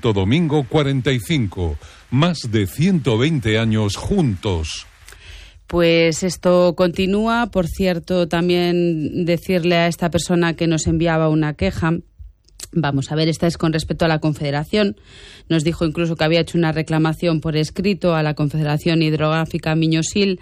Santo Domingo 45. Más de 120 años juntos. Pues esto continúa. Por cierto, también decirle a esta persona que nos enviaba una queja. Vamos a ver, esta es con respecto a la Confederación. Nos dijo incluso que había hecho una reclamación por escrito a la Confederación Hidrográfica Miño-Sil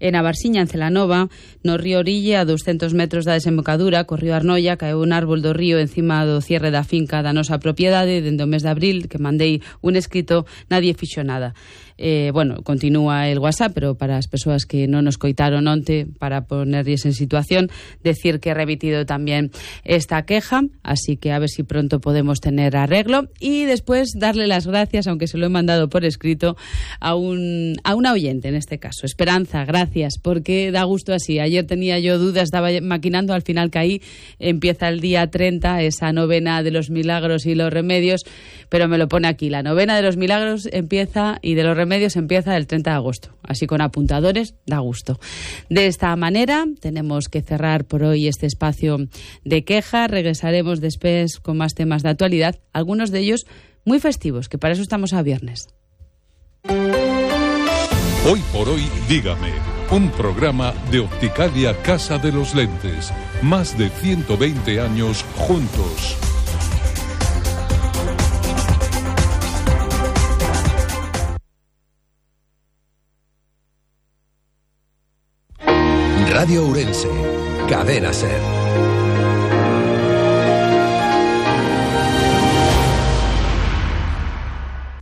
en Abarsiña, en Celanova, no río orille, a 200 metros da desembocadura, corrió Arnoia, caeu un árbol do río encima do cierre da finca da nosa propiedade, dende o mes de abril, que mandei un escrito, nadie fixo nada. Bueno, continúa el WhatsApp, pero para as persoas que non nos coitaron onte, para ponerles en situación, decir que he remitido también esta queja, así que a ver si pronto podemos tener arreglo, y después darle las gracias, aunque se lo he mandado por escrito, a una oyente en este caso, Esperanza, gracias, porque da gusto así. Ayer tenía yo dudas, estaba maquinando, al final caí, empieza el día 30, esa novena de los milagros y los remedios, pero me lo pone aquí, la novena de los milagros empieza y de los remedios empieza el 30 de agosto, así con apuntadores, da gusto. De esta manera tenemos que cerrar por hoy este espacio de queja. Regresaremos después con más temas de actualidad, algunos de ellos muy festivos, que para eso estamos a viernes. Hoy por hoy, dígame, un programa de Opticalia Casa de los Lentes. Más de 120 años juntos. Radio Ourense, Cadena SER.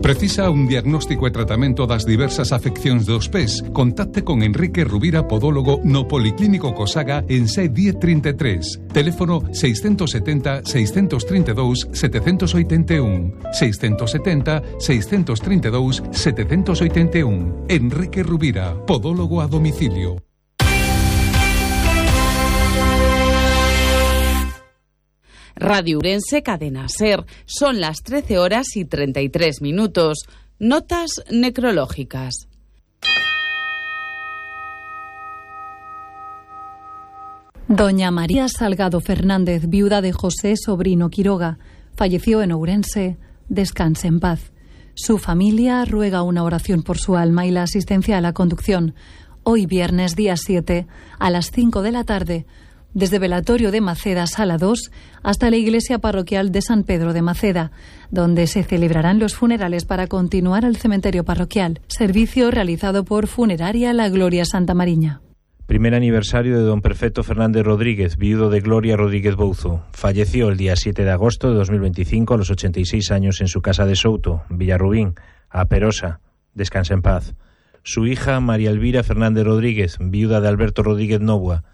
Precisa un diagnóstico e tratamento das diversas afeccións dos pés? Contacte con Enrique Rubira, podólogo no Policlínico Cosaga en C 1033. Teléfono 670 632 781. 670 632 781. Enrique Rubira, podólogo a domicilio. Radio Ourense, Cadena SER. Son las 13 horas y 33 minutos. Notas necrológicas. Doña María Salgado Fernández, viuda de José Sobrino Quiroga, falleció en Ourense. Descanse en paz. Su familia ruega una oración por su alma y la asistencia a la conducción. Hoy viernes, día 7, a las 5 de la tarde, desde Velatorio de Maceda, Sala 2, hasta la iglesia parroquial de San Pedro de Maceda, donde se celebrarán los funerales para continuar al cementerio parroquial. Servicio realizado por Funeraria La Gloria Santa Mariña. Primer aniversario de don Perfecto Fernández Rodríguez, viudo de Gloria Rodríguez Bouzo. Falleció el día 7 de agosto de 2025 a los 86 años en su casa de Souto, Villarrubín, a Perosa. Descansa en paz. Su hija María Elvira Fernández Rodríguez, viuda de Alberto Rodríguez Novoa.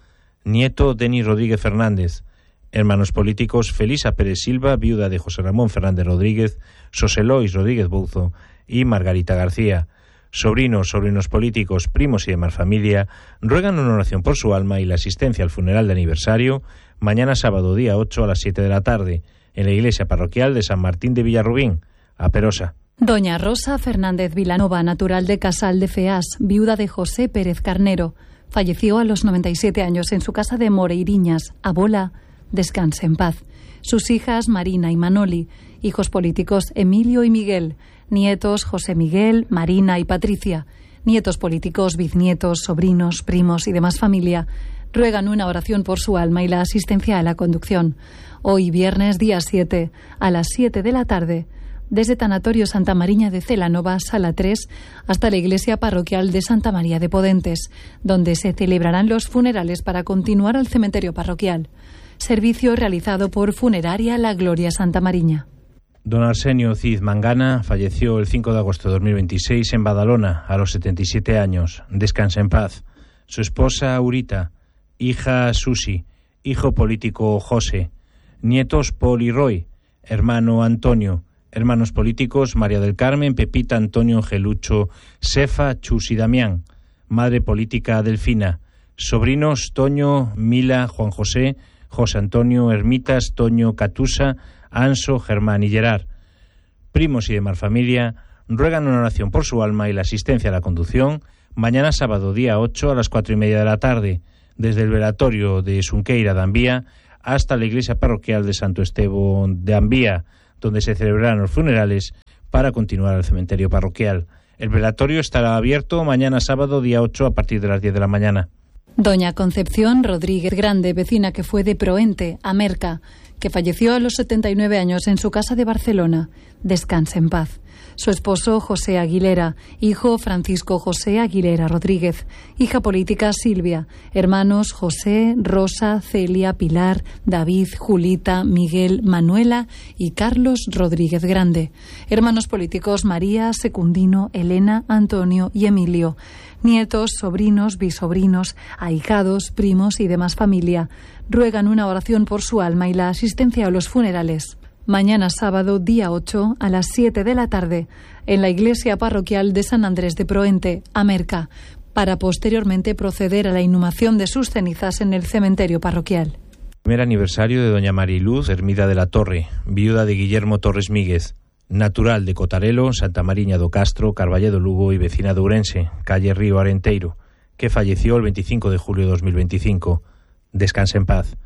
Nieto Denis Rodríguez Fernández. Hermanos políticos Felisa Pérez Silva, viuda de José Ramón Fernández Rodríguez, Soselois Rodríguez Bouzo y Margarita García. Sobrinos políticos, primos y demás familia ruegan una oración por su alma y la asistencia al funeral de aniversario mañana sábado día 8 a las 7 de la tarde en la iglesia parroquial de San Martín de Villarrubín, a Perosa. Doña Rosa Fernández Vilanova, natural de Casal de Feás, viuda de José Pérez Carnero, falleció a los 97 años en su casa de Moreiriñas, a Bola. Descanse en paz. Sus hijas Marina y Manoli, hijos políticos Emilio y Miguel, nietos José Miguel, Marina y Patricia, nietos políticos, bisnietos, sobrinos, primos y demás familia, ruegan una oración por su alma y la asistencia a la conducción. Hoy viernes día 7, a las 7 de la tarde, desde Tanatorio Santa Mariña de Celanova, Sala 3, hasta la iglesia parroquial de Santa María de Podentes, donde se celebrarán los funerales para continuar al cementerio parroquial. Servicio realizado por Funeraria La Gloria Santa Mariña. Don Arsenio Cid Mangana falleció el 5 de agosto de 2026 en Badalona, a los 77 años. Descansa en paz. Su esposa Aurita, hija Susi, hijo político José, nietos Paul y Roy, hermano Antonio, hermanos políticos María del Carmen, Pepita, Antonio, Gelucho, Sefa, Chus y Damián, madre política Delfina, sobrinos Toño, Mila, Juan José, José Antonio, Ermitas, Toño, Catusa, Anso, Germán y Gerard. Primos y demás familia ruegan una oración por su alma y la asistencia a la conducción mañana sábado día 8 a las 4:30 de la tarde, desde el velatorio de Sunqueira de Ambía hasta la iglesia parroquial de Santo Esteban de Ambía, donde se celebrarán los funerales para continuar al cementerio parroquial. El velatorio estará abierto mañana sábado día 8 a partir de las 10 de la mañana. Doña Concepción Rodríguez Grande, vecina que fue de Proente, Amerca, que falleció a los 79 años en su casa de Barcelona. Descanse en paz. Su esposo José Aguilera, hijo Francisco José Aguilera Rodríguez, hija política Silvia, hermanos José, Rosa, Celia, Pilar, David, Julita, Miguel, Manuela y Carlos Rodríguez Grande, hermanos políticos María, Secundino, Elena, Antonio y Emilio, nietos, sobrinos, bisobrinos, ahijados, primos y demás familia. Ruegan una oración por su alma y la asistencia a los funerales. Mañana sábado, día 8, a las 7 de la tarde, en la iglesia parroquial de San Andrés de Proente, Amerca, para posteriormente proceder a la inhumación de sus cenizas en el cementerio parroquial. Primer aniversario de doña Mariluz Hermida de la Torre, viuda de Guillermo Torres Míguez, natural de Cotarelo, Santa Mariña do Castro, Carballedo Lugo y vecina de Ourense, calle Río Arenteiro, que falleció el 25 de julio de 2025. Descanse en paz.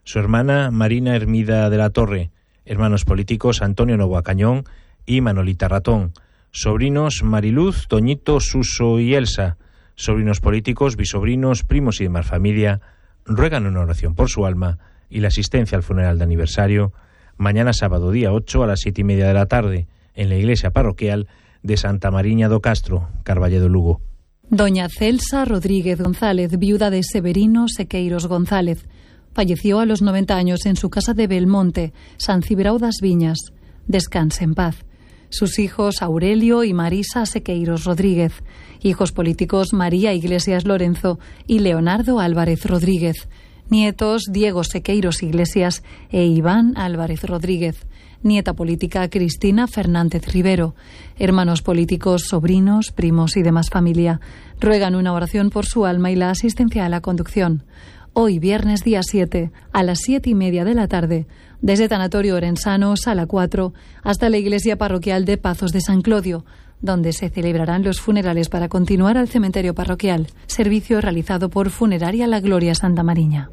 Su hermana Marina Hermida de la Torre, hermanos políticos Antonio Novoa Cañón y Manolita Ratón, sobrinos Mariluz, Toñito, Suso y Elsa, sobrinos políticos, bisobrinos, primos y demás familia, ruegan una oración por su alma y la asistencia al funeral de aniversario mañana sábado día 8 a las 7:30 de la tarde en la iglesia parroquial de Santa Mariña do Castro, Carballedo Lugo. Doña Celsa Rodríguez González, viuda de Severino Sequeiros González, falleció a los 90 años en su casa de Belmonte, San Cibrao das Viñas. Descanse en paz. Sus hijos Aurelio y Marisa Sequeiros Rodríguez, hijos políticos María Iglesias Lorenzo y Leonardo Álvarez Rodríguez, nietos Diego Sequeiros Iglesias e Iván Álvarez Rodríguez, nieta política Cristina Fernández Rivero, hermanos políticos, sobrinos, primos y demás familia. Ruegan una oración por su alma y la asistencia a la conducción. Hoy, viernes día 7, a las 7:30 de la tarde, desde Tanatorio Orensano, Sala 4, hasta la iglesia parroquial de Pazos de San Clodio, donde se celebrarán los funerales para continuar al cementerio parroquial, servicio realizado por Funeraria La Gloria Santa Mariña.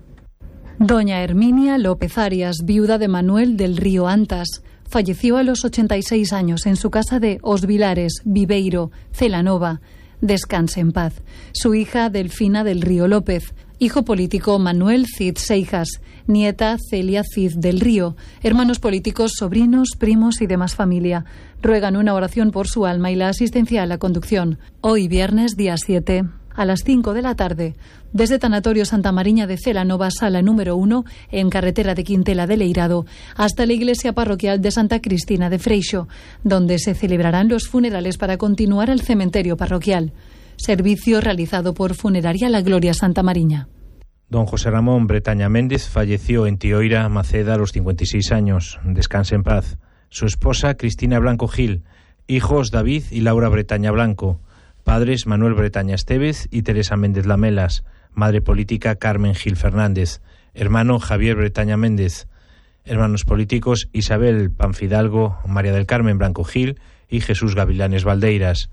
Doña Herminia López Arias, viuda de Manuel del Río Antas, falleció a los 86 años en su casa de Os Vilares, Viveiro, Celanova. Descanse en paz. Su hija Delfina del Río López, hijo político Manuel Cid Seijas, nieta Celia Cid del Río, hermanos políticos, sobrinos, primos y demás familia. Ruegan una oración por su alma y la asistencia a la conducción. Hoy, viernes día 7, a las 5 de la tarde, desde Tanatorio Santa Mariña de Celanova, sala número 1, en carretera de Quintela de Leirado, hasta la iglesia parroquial de Santa Cristina de Freixo, donde se celebrarán los funerales para continuar al cementerio parroquial. Servicio realizado por Funeraria La Gloria Santa Mariña. Don José Ramón Bretaña Méndez falleció en Tioira, Maceda, a los 56 años. Descanse en paz. Su esposa Cristina Blanco Gil, hijos David y Laura Bretaña Blanco, padres Manuel Bretaña Estevez y Teresa Méndez Lamelas, madre política Carmen Gil Fernández, hermano Javier Bretaña Méndez, hermanos políticos Isabel Panfidalgo, María del Carmen Blanco Gil y Jesús Gavilanes Valdeiras,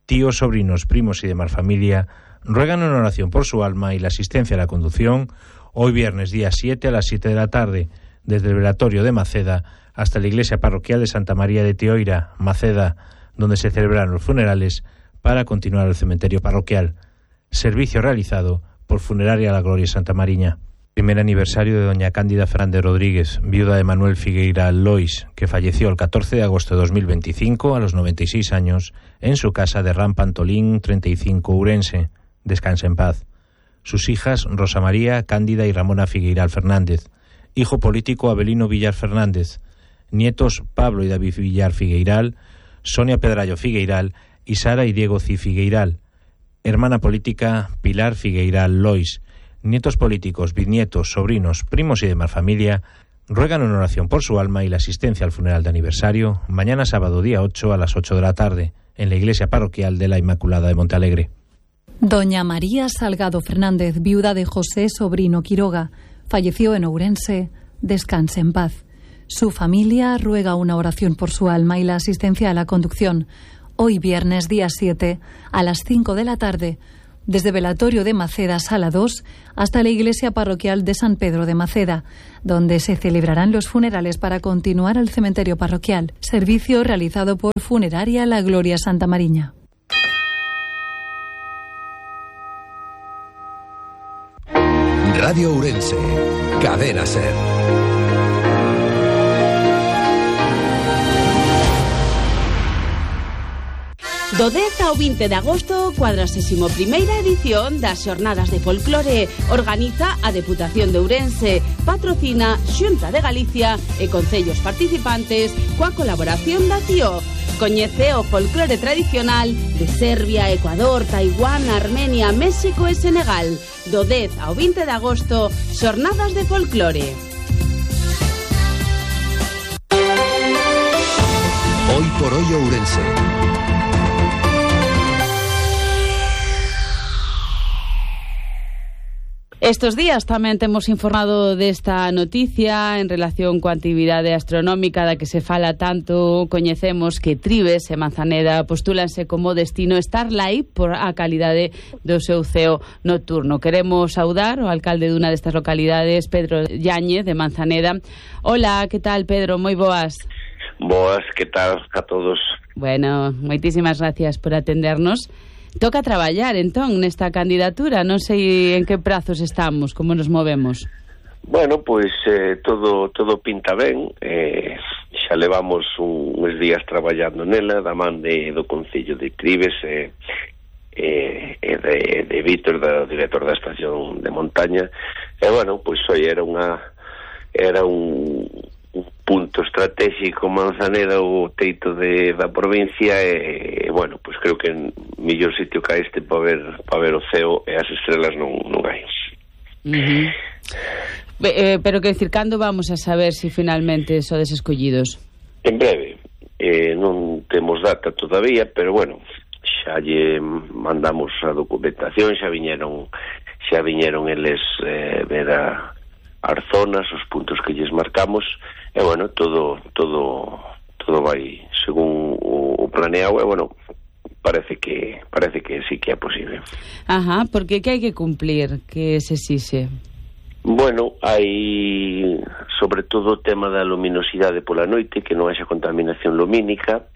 tíos, sobrinos, primos y demás familia, ruegan una oración por su alma y la asistencia a la conducción hoy viernes día 7 a las 7 de la tarde, desde el velatorio de Maceda hasta la iglesia parroquial de Santa María de Tioira, Maceda, donde se celebran los funerales para continuar al cementerio parroquial. Servicio realizado por Funeraria La Gloria Santa Mariña. Primer aniversario de doña Cándida Fernández Rodríguez, viuda de Manuel Figueira Lois, que falleció el 14 de agosto de 2025 a los 96 años en su casa de Rampantolín 35 Ourense. Descanse en paz. Sus hijas Rosa María, Cándida y Ramona Figueiral Fernández, hijo político Abelino Villar Fernández, nietos Pablo y David Villar Figueiral, Sonia Pedrallo Figueiral y Sara y Diego Cid Figueiral, hermana política Pilar Figueiral Lois, nietos políticos, bisnietos, sobrinos, primos y demás familia, ruegan una oración por su alma y la asistencia al funeral de aniversario mañana sábado día 8 a las 8 de la tarde en la iglesia parroquial de la Inmaculada de Montealegre. Doña María Salgado Fernández, viuda de José Sobrino Quiroga, falleció en Ourense. Descanse en paz. Su familia ruega una oración por su alma y la asistencia a la conducción hoy viernes día 7 a las 5 de la tarde desde velatorio de Maceda, Sala 2, hasta la iglesia parroquial de San Pedro de Maceda, donde se celebrarán los funerales para continuar al cementerio parroquial. Servicio realizado por Funeraria La Gloria Santa Mariña. Radio Ourense, Cadena SER. Do 10 ao 20 de agosto, 41ª edición das Xornadas de Folclore. Organiza a Deputación de Ourense, patrocina Xunta de Galicia e concellos participantes coa colaboración da CIO. Coñece o folclore tradicional de Serbia, Ecuador, Taiwán, Armenia, México e Senegal. Do 10 ao 20 de agosto, Xornadas de Folclore. Hoy por hoy Ourense. Estos días tamén temos informado desta noticia en relación coa actividade astronómica da que se fala tanto. Coñecemos que Trives e Manzaneda postúlanse como destino Starlight por a calidade do seu ceo nocturno. Queremos saudar o alcalde dunha destas localidades, Pedro Yáñez, de Manzaneda. Hola, que tal, Pedro? Moi boas. Boas, que tal a todos? Bueno, moitísimas gracias por atendernos. Toca traballar, entón, nesta candidatura. Non sei en que prazos estamos, como nos movemos. Bueno, pois todo pinta ben. Xa levamos uns días traballando nela, da man do Concello de Trives e de Vítor, do director da estación de montaña. E, bueno, pois hoy era un punto estratégico Manzaneda, o teito da provincia, e, bueno, pois creo que en mellor sitio que este para ver o ceo e as estrelas non hai. Pero que decir, cando vamos a saber se finalmente sodes escollidos? En breve. Non temos data todavía, pero bueno, xa lle mandamos a documentación, xa viñeron eles ver as zonas, os puntos que lles marcamos, e bueno, todo vai según o planeado, e bueno, parece que sí que é posible. Ajá, porque que hai que cumplir, que se exixe? Bueno, hai sobre todo o tema da luminosidade pola noite, que non haxa contaminación lumínica,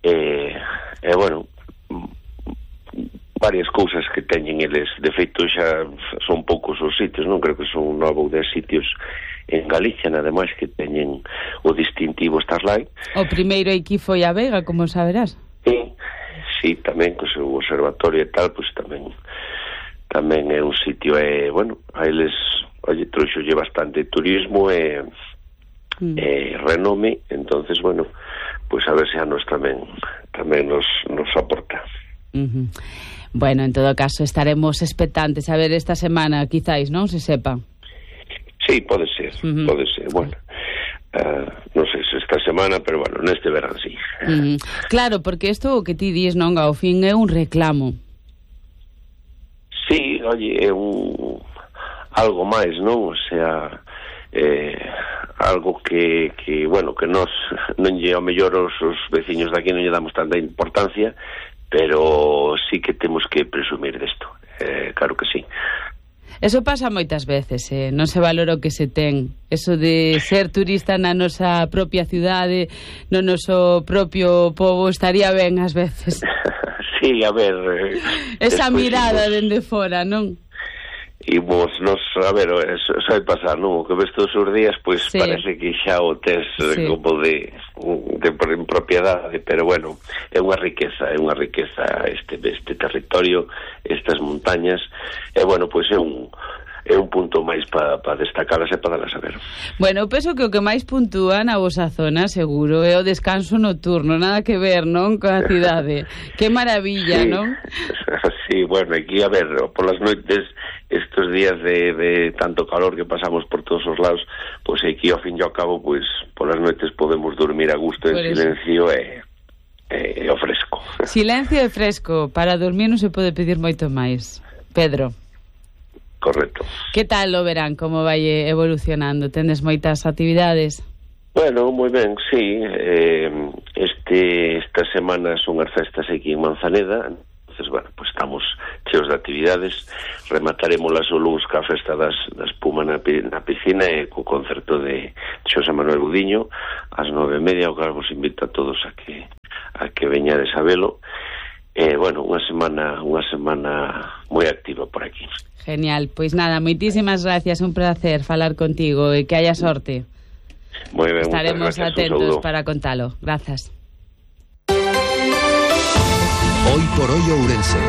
e bueno, varias cousas que teñen eles. De feito, xa son poucos os sitios, non creo que son 9 ou 10 sitios en Galicia, nada máis, que teñen o distintivo Starlight. O primeiro aquí foi a Vega, como saberás. Sí, tamén, co seu observatorio e tal, pois tamén é un sitio, bueno, a eles, trouxolle bastante turismo e renome, entonces, bueno, pois a ver se a nos tamén nos aporta. Bueno, en todo caso, estaremos expectantes a ver esta semana, quizáis, non se sepa. Sí, pode ser. Bueno, non sei se esta semana, pero bueno, neste verán, sí. Claro, porque isto o que ti dis, non, ao fin é un reclamo. Sí, oye, é algo máis, non? O sea, algo que bueno, que nós non lle ao mellor os veciños daqui non lle damos tanta importancia, pero sí que temos que presumir desto, claro que sí. Eso pasa moitas veces, non se valora o que se ten. Eso de ser turista na nosa propia cidade, no noso propio pobo, estaría ben ás veces. Sí, a ver... esa mirada dende fora, non? Imos nos, a ver, sai pasar, non? O que ves todos os días, pois sí, parece que xa o tes como de propiedade, pero bueno, é unha riqueza este territorio, estas montañas, e bueno, pois é un punto máis para destacalas e para dalas a ver. Bueno, penso que o que máis puntúa na vosa zona, seguro, é o descanso nocturno, nada que ver, non, coa cidade. Que maravilla, sí, non? Sí, bueno, aquí, a ver, polas noites, estos días de tanto calor que pasamos por todos os lados, pois aquí ao fin e ao cabo, pois polas noites podemos dormir a gusto en silencio e o fresco. Silencio e fresco, para dormir non se pode pedir moito máis. Pedro. Correcto. Que tal o verán, como vai evolucionando? Tendes moitas actividades? Bueno, moi ben, sí. Esta semana son as festas aquí en Manzaneda, entonces bueno, pues estamos cheos de actividades. Remataremos o luns ca festa da espuma na piscina e co concerto de Xosé Manuel Budiño ás 9:30, o que vos invito a todos a que veñades a velo. Bueno, unha semana moi activa por aquí. Genial, pois nada, moitísimas gracias, un placer falar contigo e que haya sorte. Moi ben, estaremos atentos para contalo. Grazas. Hoy por hoy Ourense.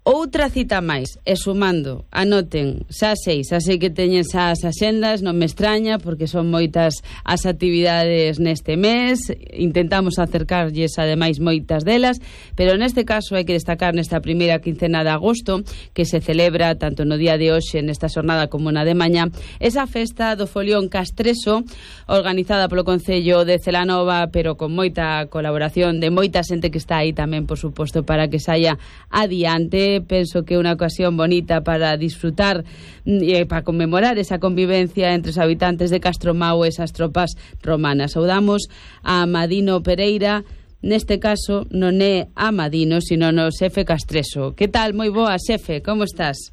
Outra cita máis, e sumando, anoten, xa 6, así que teñen xa as axendas, non me extraña, porque son moitas as actividades neste mes, intentamos acercarlles ademais moitas delas, pero neste caso hai que destacar nesta primeira quincena de agosto, que se celebra tanto no día de hoxe, nesta xornada, como na de mañá, esa festa do folión castreso, organizada polo Concello de Celanova, pero con moita colaboración de moita xente que está aí tamén, por suposto, para que saia adiante. Penso que é unha ocasión bonita para disfrutar e para conmemorar esa convivencia entre os habitantes de Castromao e esas tropas romanas. Saudamos a Amadino Pereira, neste caso non é Amadino, sino no xefe Castreso. Que tal? Moi boa, xefe, como estás?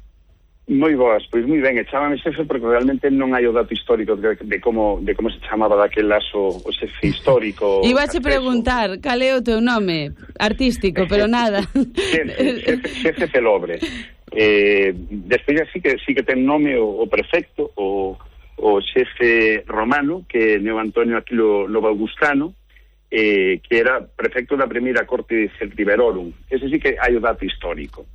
Moi boas, pois moi ben, e chámame xefe porque realmente non hai o dato histórico de como se chamaba daquelas o xefe histórico. Ibache preguntar, cal é o teu nome artístico, pero nada. Xefe Celobre. Despois sí que ten nome o prefecto, o xefe romano, que é Neo Antonio Aquilo Lobo Augustano, que era prefecto da primeira corte de Celtiberorum. Ese sí que hai o dato histórico.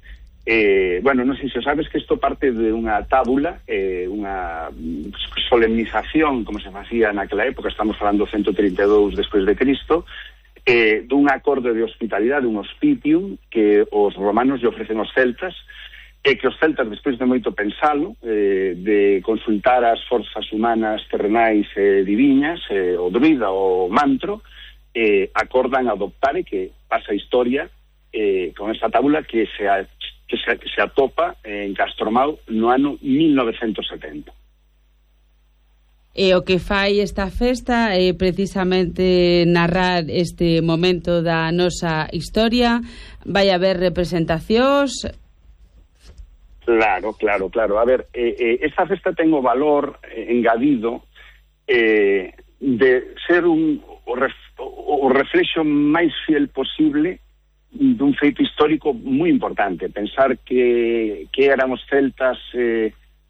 Bueno, non sei se sabes que isto parte de unha tábula, unha solemnización, como se facía naquela época, estamos falando 132 despois de Cristo, dun acordo de hospitalidade, un hospitium, que os romanos lle ofrecen aos celtas, e que os celtas, despois de moito pensalo, de consultar as forzas humanas terrenais diviñas, o druida, o mantro, acordan adoptar e que pasa a historia con esta tábula que se atopa en Castromao no ano 1970. E o que fai esta festa é precisamente narrar este momento da nosa historia. Vai haber representacións? Claro. A ver, esta festa ten o valor engadido de ser o reflexo máis fiel posible dun feito histórico moi importante. Pensar que eran os celtas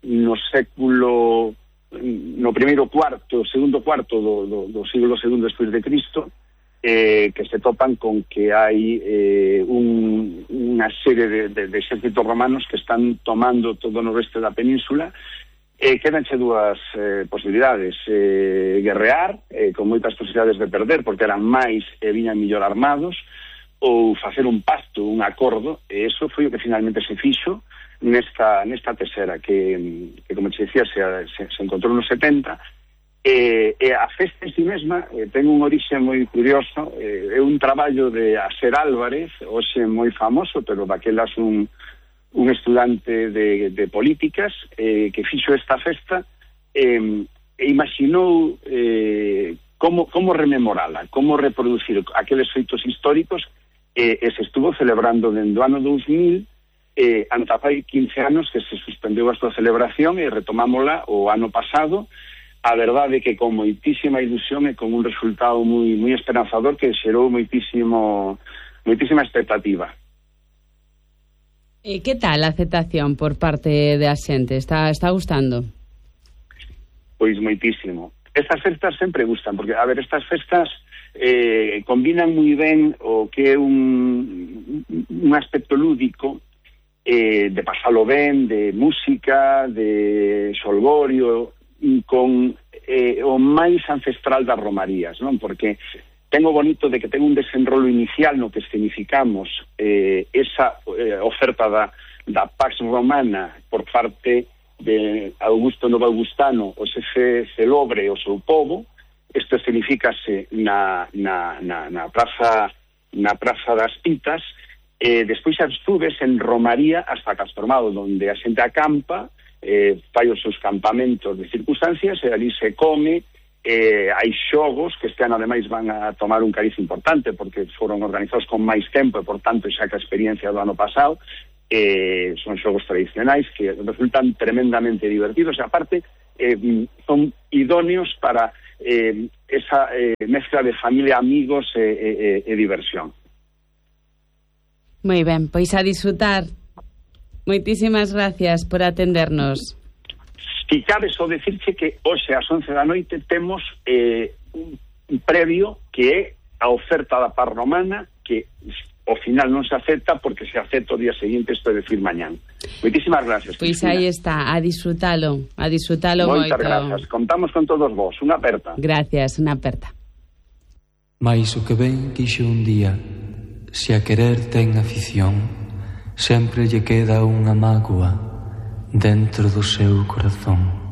no século, no primeiro cuarto, segundo cuarto do siglo II despois de Cristo, que se topan con que hai unha serie de exércitos romanos que están tomando todo o noroeste da península. Quedanche dúas posibilidades: guerrear, con moitas posibilidades de perder, porque eran máis e viñan mellor armados, ou facer un pacto, un acordo, e eso foi o que finalmente se fixo nesta terceira, que como te decía, se encontrou nos 70, e a festa en si mesma ten un orixe moi curioso. É un traballo de Aser Álvarez, hoxe moi famoso, pero daquelas un estudante de políticas, que fixo esta festa e imaginou como rememorala, como reproducir aqueles feitos históricos, e se estuvo celebrando dende o ano 2000, anta fai 15 anos que se suspendeu a súa celebración e retomámola o ano pasado. A verdade é que con moitísima ilusión e con un resultado moi esperanzador que xerou moitísima expectativa. E que tal a aceptación por parte da xente? Está gustando? Pois moitísimo. Estas festas sempre gustan, porque, a ver, estas festas combinan moi ben o que é un aspecto lúdico, de pasalo ben, de música, de xolgorio, con o máis ancestral das romarías, non? Porque ten o bonito de que ten un desenrolo inicial no que escenificamos esa oferta da Pax Romana por parte de Augusto Novo Augustano, o xefe Celobre e o seu povo. Isto escenifícase na praza das Pitas, despois as subes en Romaría hasta Castromao, onde a xente acampa, fai os seus campamentos de circunstancias, e ali se come, hai xogos que este ano ademais van a tomar un cariz importante porque foron organizados con máis tempo e por tanto xa que a experiencia do ano pasado son xogos tradicionais que resultan tremendamente divertidos e aparte son idóneos para esa mezcla de familia, amigos e diversión. Moi ben, pois a disfrutar. Moitísimas gracias por atendernos. Si cabe só decirche que hoxe ás 11 da noite temos un previo que é a oferta da Parromana que ao final non se acepta porque se acepta o día seguinte, isto é decir mañán. Moitísimas gracias, Pois Cristina. aí está, a disfrutalo moito. Moitas gracias, contamos con todos vos, unha aperta. Gracias, unha aperta. Mais o que ben quixo un día, se a querer ten afición, sempre lle queda unha mágoa dentro do seu corazón.